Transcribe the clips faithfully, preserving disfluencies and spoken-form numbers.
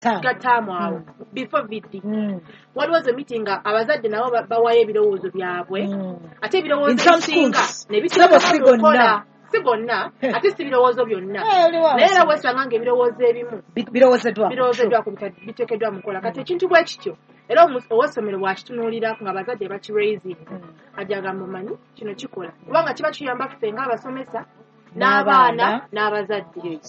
Ga taamu awo before V D. Waliwo ezo meeting nga abazadde nabo bawayo ebirowoozo byabwe, ate ebirowoozo ebisinga ne biteekebwa mu nkola. Si gonna, ate si birowoozo byonna, naye era wesanga nga ebirowoozo ebimu birowoozeddwako, biteekeddwa mu nkola. Kati ekintu bwe kityo era owessomero bw'akitunuulira nga abazadde bakiraising, ajja agamba, "Omanyi kino kikola," kubanga kiba kiyamba ffe ng'abasomesa n'abaana n'abazadde.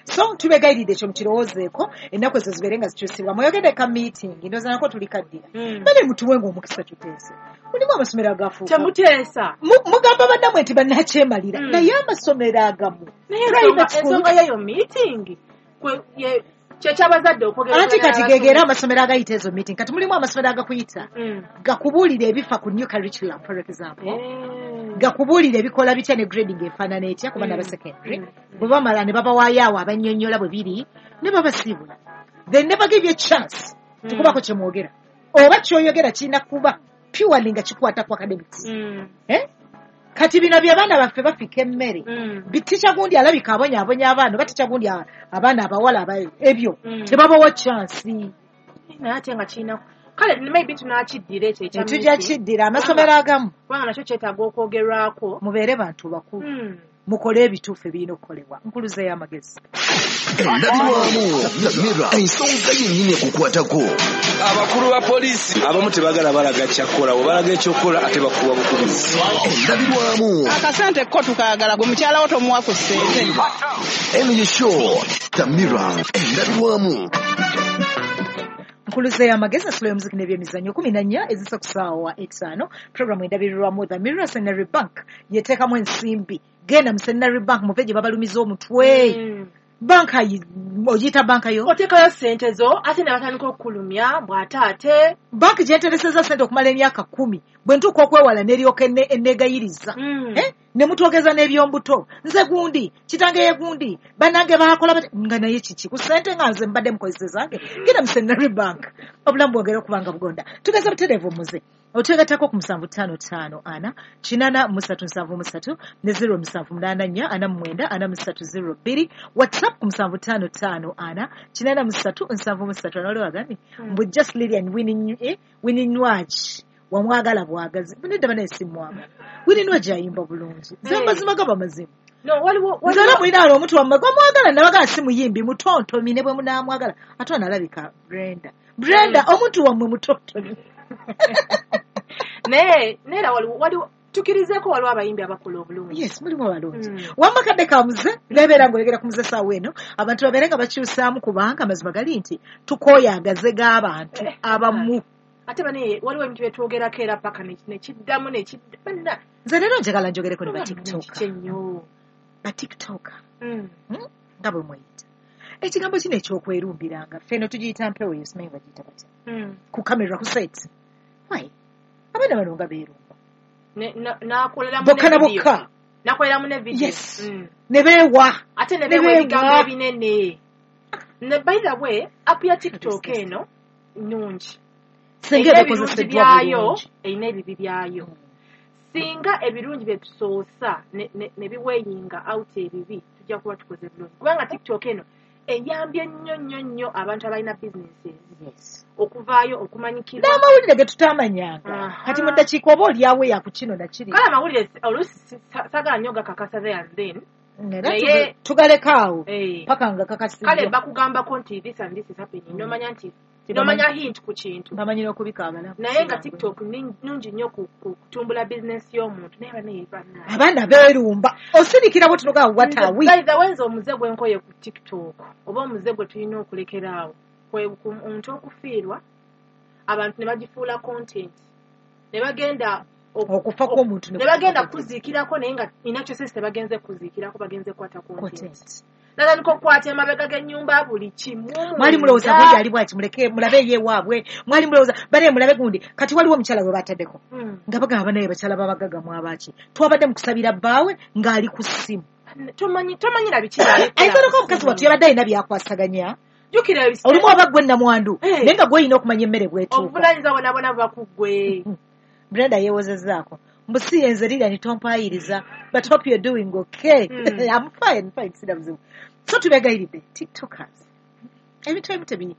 So tubegayiridde ekyo mukirowoozeeko, ennaku ezo zibeere nga zikyusibwa. Mweyogedde ka meeting, ndowooza nako tuli kaddira. Bale mutuwenga omukisa tuteese. Mulimu amasomero agafuuka Temuteesa. Mugamba bannammwe nti bannakyemalira, naye amasomero agamu Ensonga yeyo meeting kyekyabazadde okwogera. Anti kati gegera amasomero agayita ezo meeting. Kati mulimu amasomero agakuyita gakubuulira ebifa ku new curriculum, for example, gakubuulira ebikola bitya ne grading efaanana etya ku baana ba secondary. Bwe bamala ne babawaayo awo abannyonnyola bwe biri ne babasiibula. They never give you a chance tukubako kye mwogera, oba kyoyogera kirina kuba purely nga kikwata ku academics. Eh? Kati bino bye baana baffe bafika emmere, bitica gundi alabika abonyaabonya abaana, oba tica gundi abaana abawala, ebyo tebabawa chance. Naye ate nga kirina, kale maybe tunakiddira ekyo ekya Tujja kiddira amasomero agamu. Kubanga nakyo kyetaaga okwogerwako. Mubeere bantu bakulu, mukole ebituufu ebirina okukolebwa. Nkuluza ey'amagezi. Endabirwamu Mirror, ensonga yennyini ekukwatako. Abakulu ba poliisi abamu tebagala balaga kyakukola, bwe ekyokukola ate bakuwa bukubizi. Endabirwamu. Akasente ko tukaagala, gwe mukyala wo tomuwa ku ssente. Eno ye show The Mirror, endabirwamu. Nkuluza y'amagezi, ensolo y'omuziki n'ebyemizannyo, kumi na nnya ezisa ku ssaawa etaano. Programu endabirirwamu The Mirror. Centenary Bank yeteekamu ensimbi. Genda mu Centenary Bank, muve gye babalumiza omutwe. Mm. Banka ogiyita banka yo. Oteekayo sente zo, ate ne batandika okukulumya bw'ate ate Banki gyentereseza sente okumala emyaka kumi, bwe ntuuka okwewala neryoka enneegayiriza. Mm. Eh? Ne mutwogeza n'ebyombuto, nze gundi kitange ye gundi, bannange baakola bati, nga naye kiki ku sente nga nze mbadde mukozesa zange? Genda mu Centenary Bank, obulamu bwongere okuba nga bugonda. Tugeza butereevu muze otwegattako ku musanvu ttaano ttaano ana kinaana musatu nsanvu musatu ne zero musanvu munaana nnya ana mu mwenda ana mu ssatu zero bbiri. WhatsApp ku musanvu ttaano ttaano ana kinaana mu ssatu nsanvu mu ssatu. Waliwo agambye mbu just Lilian Winnie, eh, Winnie Nwagi wamwagala bwagazi. Nedda banaye, simwagala. Winnie Nwagi ayimba bulungi, nze Hey. amazima gaba mazima. No, waliwo Nze era mulina wali omuntu wammwe gwamwagala, nabagala si muyimbi, mutontomi, ne bwe munaamwagala ate analabika Brenda, Brenda omuntu wammwe mutontomi. Naye neera waliwo waliwo tukirizeeko, waliwo abayimbi abakola obulungi. Yes, mulimu abalungi. Mm. Wamma kadde ka muze nebeera ngaoyogera ku muze saawa eno, abantu babeere nga bakyusaamu, kubanga amazima gali nti tukooya agaze g'abantu abamu. Ate bane waliwo ebintu byetwogerako era paka ne- nekiddamu nekidda banna. Nze leero njagala njogereko ne batiktoka. Kiki ennyo? Batiktoka Mm. nga bwe mweyita, ekigambo kino ekyokwerumbiranga ffeno tugiyita mpewo eyo, simanyi bagiyita batya, Mm. ku kamera, ku set. Why abaana bano nga beerumba? Ne- na- nakoleramu Bokka na ne video. bokka. Nakoleramu ne video. Yes. Mm. Ne beewa. Ate ne Ne beewa beewa. ebigambo ebinene. Ne by the way, app ya TikTok eno nnungi. Singa Erina ebirungi ebikozeseddwa byayo, bulungi. Erina ebibi byayo. Singa ebirungi bye tusoosa ne- ne ne biweighinga out ebibi, tujja kuba tukoze bulungi, kubanga TikTok eno eyambye nnyo nnyo nnyo abantu abalina businesses Yes. okuvaayo okumanyikirwa. N'amawulire ge tutamanyanga. Aha. Kati mu ddakiika oba oliawo yaku kino nakiri. Kale amawulire si- oluusi si- sa- saagala nnyo gakakasa there and then. Era Naye- tuga- tugaleka awo Eh. paka nga Kale kakasiddwa. bakugambako nti this and this is happening, nomanya nti Tebamanyi- nomanya hint ku kintu. Bamanyi n'okubika abalamu. Naye nga TikTok ni- nnungi nnyo ku ku kutumbula bizinesi y'omuntu, naye banaye bannange. Abaana beerumba, osirikira bwe tunoga wataawi. By the way, nze omuze gwe nkoye ku TikTok, oba omuze gwe tulina okulekera awo, kwe ku omuntu okufiirwa, abantu ne bagifuula content ne bagenda ok- Okufa kw'omuntu ne bagenda kuziikirako, naye nga ina kyosesi tebagenze kuziikirako, bagenze kukwata content. Content. Natandika okukwata emabega g'ennyumba, buli kimu. Mwali mulowooza munda. gundi ali bwaki, muleke mulabe ye waabwe. Mwali mulowooza banaye mulabe gundi. Kati waliwo omukyala gwe bataddeko Mm. nga bagamba, banaye bakyala babagaga mwabaki, twabadde mu kusabira bbaawe ng'ali ku ssimu. Tomanyi, tomanyi na biki. Ayinza omukazi wattu yabadde alina byakwasaganya. Jjukira ebise- Olumu oba gwe namwandu, Eh. naye nga gwolina okumanya emmere bwetuuka. Obuvunaanyizibwa bwonna bwonna buba ku ggwe. Brenda yeewozezzaako mbu si yenze Lilian, tompayiriza, but hope you're doing okay. Mm. I'm fine, fine, sina buzibu. So tubegayiridde, TikTokers, Ebintu ebimu tebi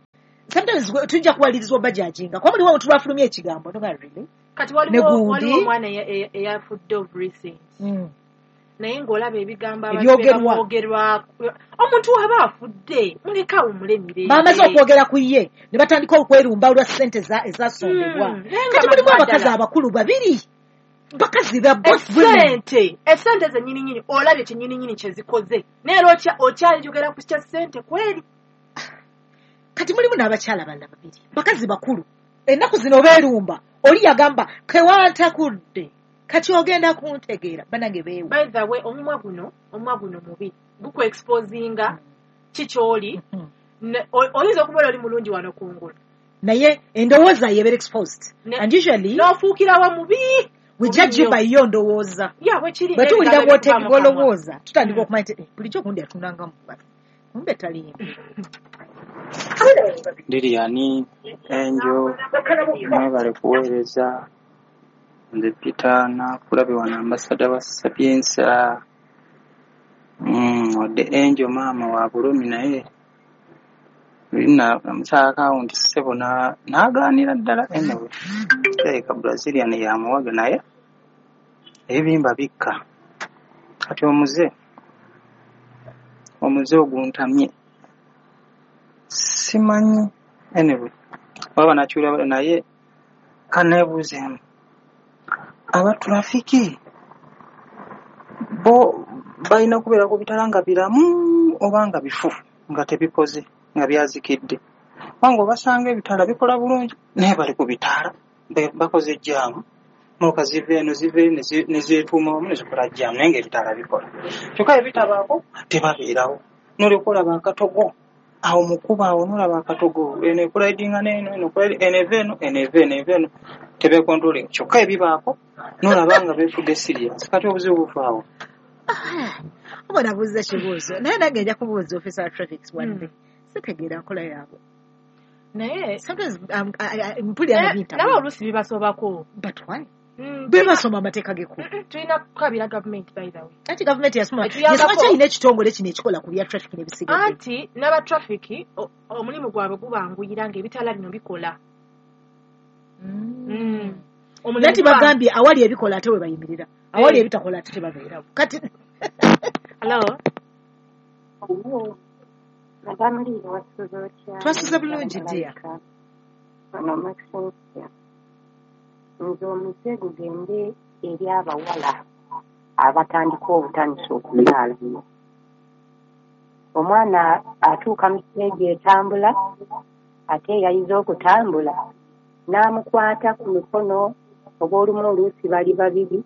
sometimes gwe- tujja kuwalirizwa bajajinga kuba muliwo omuntu lwafulumya ekigambo noga really. Kati Ne waliwo gundi. Waliwo omwana eya- eya- eyafudde of recent, Mm. naye ng'olaba ebigambo abantu Ebyogerwa. bamwogerwa. Omuntu waba afudde, muleke awummule mirembe. Bamaze okwogera ku ye ne batandika okwerumba olwa ssente eza- ezasondebwa. Mm, naye nga Kati mulimu mazima abakazi ddala. abakulu babiri, bakazi ba both women. Esente, esente zennyininyini, olabye kyennyininyini kyezikoze, naye era okya- okyayogera ku kya ssente kweri. Kati mulimu n'abakyala balala babiri, bakazi bakulu, ennaku zino beerumba. Oli yagamba kewantakudde, kati ogenda kuntegeera. Banange, beewa. By the way, omumwa guno omumwa guno mubi, gukuexposinga kikyoli. Mhm. Oyinza okubeera oli mulungi wano kungulu, naye endowooza yebeera exposed, Ne- and usually n'ofuukirawo mubi. We judge you by yo ndowooza. Ya, bwekiri. Bwe tuwulira n'ebigambo ebikuva mu kamwa. bw'olowooza, tutandika okumanya nti eh, bulijjo gundi atundangamu, kumbe taliimu. Lilian, Angel, mwebale kuweereza. Nze Peter Nakulabye wano, ambassador wa Sapienza. Mm, wadde Angel maama wa bulumi, naye luli namusaako awo nti ssebo na- n'agaanira ddala. Anyway, kirabika Brazilian yamuwaga, naye ebibimba bikka. Kati omuze omuze oguntamye simanyi. Anyway, waba nakyula, naye kaneebuuzeemu, abatrafiki bo balina kubeera ku bitala nga biramu oba nga bifu, nga tebikoze, nga byazikidde? Kubanga obasanga ebitaala bikola bulungi, naye bali ku bitaala be- bakoze jam, motoka ziva eno, ziva eri, ne zi- ne zeetuuma wamu ne zikola jam, naye ng'ebitaala bikola. Kyokka ebitabaako tebabeerawo. Nolyoka olaba akatogo awo mukuba awo, nolaba akatogo, eno ecollidinga n'eno, eno ecollidinga- eno eva eno, eno eva eno, eva eno, tebecontrolling. Kyokka ebibaako nolaba nga beefudde serious. Kati obuzibu buvaawo? Oba nabuuza kibuuzo, naye nange nja kubuuza officer wa traffic one day. Sitegeera nkola yaabwe. Naye Sometimes um, I- I- mpulira nga Eh, bintamye. nabo oluusi bibasobako. But why? Mm, Be basoma amateeka g'ekkubo. Mm, tulina kukabira gavumenti, by the way. Anti gavumenti yasoma Etuyambako. yasoma kyalina ekitongole kino ekikola ku bya traffic n'ebisigadde. Anti n'abatrafiki o- omulimu gwabwe gubanguyira ng'ebitaala bino bikola. Mm. Omulimu Naye guba- tibagambye awali ebikola ate we bayimirira, awali Eh. ebitakola ate tebabeerawo kati. Hello? Madamu Liiro, wasuze otya? Twasuze bulungi, dear. Wano Maxensia. Nze omuze gugende eri abawala abatandika obutandisa okuzaala. Omwana atuuka mu siteegi etambula, ate eyayize okutambula n'amukwata ku mikono, oba olumu oluusi bali babiri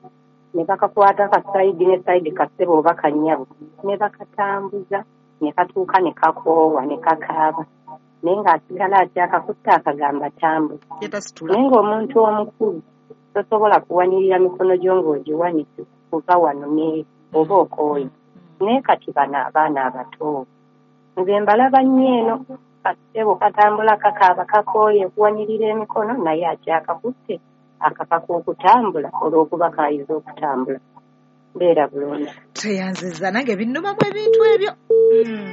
ne bakakwata ka side ne side, kassebo oba kannyabo, ne bakatambuza ne katuuka ne kakoowa ne kakaaba, naye ng'asigala akyakakutte akagamba tambula. Yatasitula. Naye ng'omuntu omukulu tosobola kuwanirira mikono gyo ng'ogiwanise kuva wano ne oba okooye. Naye kati bano abaana abato nze mbalaba nnyo eno, kassebo katambula kakaaba kakooye kuwanirira emikono, naye akyakakutte akakaka okutambula olw'okuba kayize okutambula. Mbeera bulungi. Tweyanziza, nange binnumamu ebintu ebyo. Mm.